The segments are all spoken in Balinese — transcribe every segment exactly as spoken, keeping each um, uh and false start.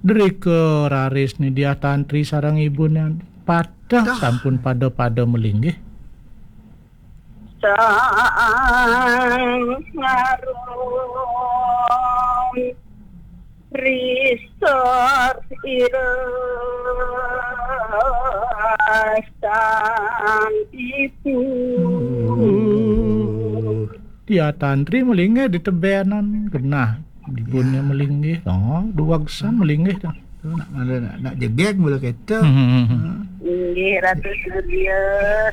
Drika raris ni Diah Tantri sareng ibuné pateh. Dah. Sampun pada-pada malinggih. Sang ngarum risor ira sang ibu. Diah Tantri malinggih di tebenan genah. Ibuné malinggih. Oh, duwagsan malinggih dah. Tu nak, nak, nak, nak jegeg mula kereta. Hmm. Inggih, Ratu Surya,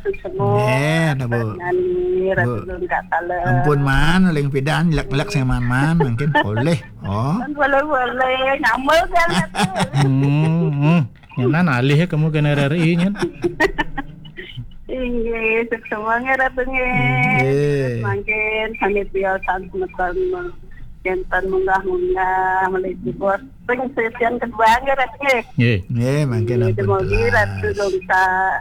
suksma. Nggih, nak, Bu. Nani, Ratu Bu. Lungkak Taler. Ampun, Man, ling pidan, lek-lek sing Man-man, mungkin boleh. Oh. Kan boleh-boleh, ngambul kan, Ratu. Hmm, hmm. Nyanan alih kamu kena R R I nyan. Inggih, suksma nggih, Ratu nggih. Inggih. Mangkin sami tiosan semeton, janten munggah-munggah, malih jebos. Sing sesian kedua nggih, Ratu nggih. Nggih. Nggih, mangkin. Nggih, ampun, dumogi telas. Ratu Lungkak.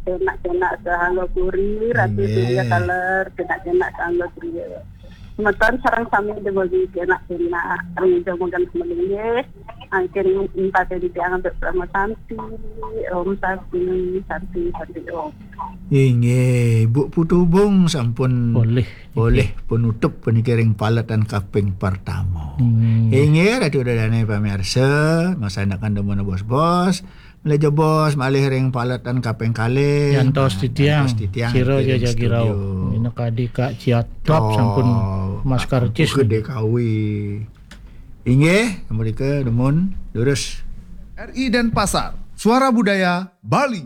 Cenak-cenak sahangga puri, Ratu. Nggih. Surya Taler, cenak-cenak sahangga puri. Semeton sareng sami dumogi cenak-cenak. Sareng jamugan semeton nggih. Mangkin empat tiang untuk Parama Santi. Om Santi, Santi, Santi Om. Inggih, Bu Putu Bung sampun polih. Polih penutup puniki ring paletan kaping pertama. Hmm. Inggih, Ratu Dadane pamirsa, masanakan demen bos-bos, malih jebos malih ring paletan kaping kalih. Yantos. Nah, titiang, yantos titiang sira niki ring jajagirau studio. Minakadi Kak Ciatop. Toh, sampun Mas Kak Karcis Putu niki. Dekawi. Inggih, mrika demen durus. R I Denpasar, Suara Budaya Bali.